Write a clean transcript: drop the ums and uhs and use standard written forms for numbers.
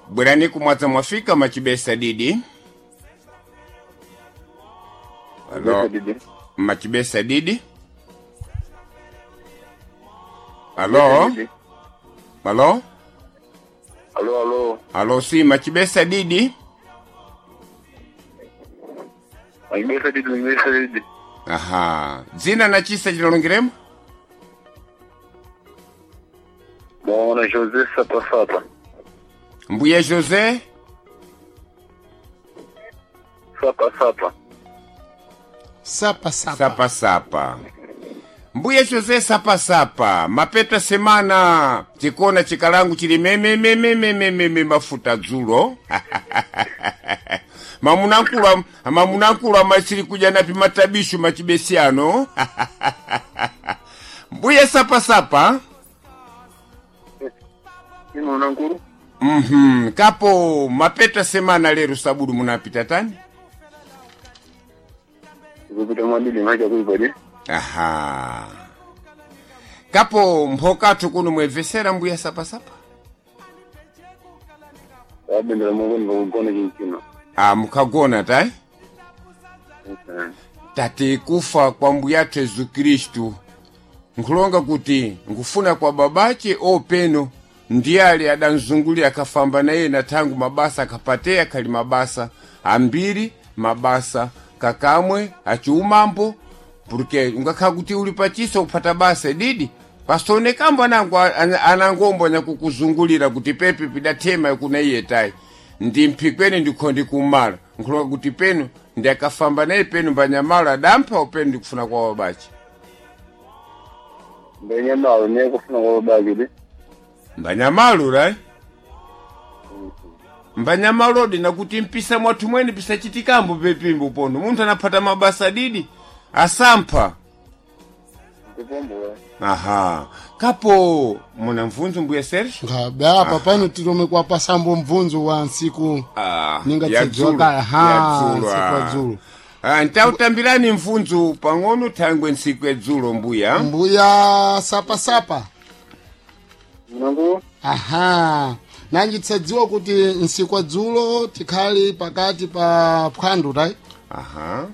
Bwerani kumwadza mwafika machibesa didi. Alo, Didi. machibesa didi. Alo, Didi. alo, Alo, alo. alo, si machibesa didi. Machibesa didi, machibesa didi. Aha, dzina na chisa chinalongiremo? Bwana Jose Sapa Sapa. Mbuya Jose Sapa Sapa. Sapa sapa. Sapa sapa. Mbuya Jose sapa sapa. Mapeta semana chikona chikalangu chili mememememememe mafuta dzulo. Mamunankulu mamunankulu amasiri kuja napi matabishu machibesiano. Mbuya sapa sapa. Mimi unankuru? Kapo mapeta semana lero sabudu munapita tani? Kupita mwadidi macha kuipadi. Aha. Kapo mphokathu kuno mwevesera mbuya sapasapa? Wabendera mugoni vakugona chinchino. Ah, mukhagona tayi? Tati kufa kwa mbuyathu Yesu Khristu nkhulonga kuti nkufuna kwa babache openo ndiye ali adanzungulira akafamba naye na thangu mabasa akapateya khali mabasa ambiri mabasa kakamwe achiumambo porque ungakhala kuti uli pachiso kuphata basa didi pasonekambo anango anangombo anyakukuzungulira kuti pepe pidathema kuna iye tayi ndi mphikweni ndikho ndikumala nkhulonga kuti penu ndi akafamba naye penu mbanyamalo adampha openu ndikufuna kwa babache Ndanyamalo ne kufuna kwa babake de. mbanyamalo right mbanyamalo nakuti mpisa mwathu mwene pisachitikambo pepimbo pono munthu anaphata mabasa didi asampha Kupombo. aha kapo muna mvunzo mbuya Sergio Ngabe apa pano tilome kwa pasambo mvunzo wa nsiku Ah, ninga ya tsedziwa dzulo, kaya ha ya dzulo, nsiku ah. wa dzulo. Ah, ntautambirani mvunzo pang'ono thangwe ntsiku yadzulo mbuya Mbuya sapa sapa. Unankuru? Aha. Nanji tsadziwa kuti nsiku wa dzulo tikhali pakati pa phwando tayi. aha.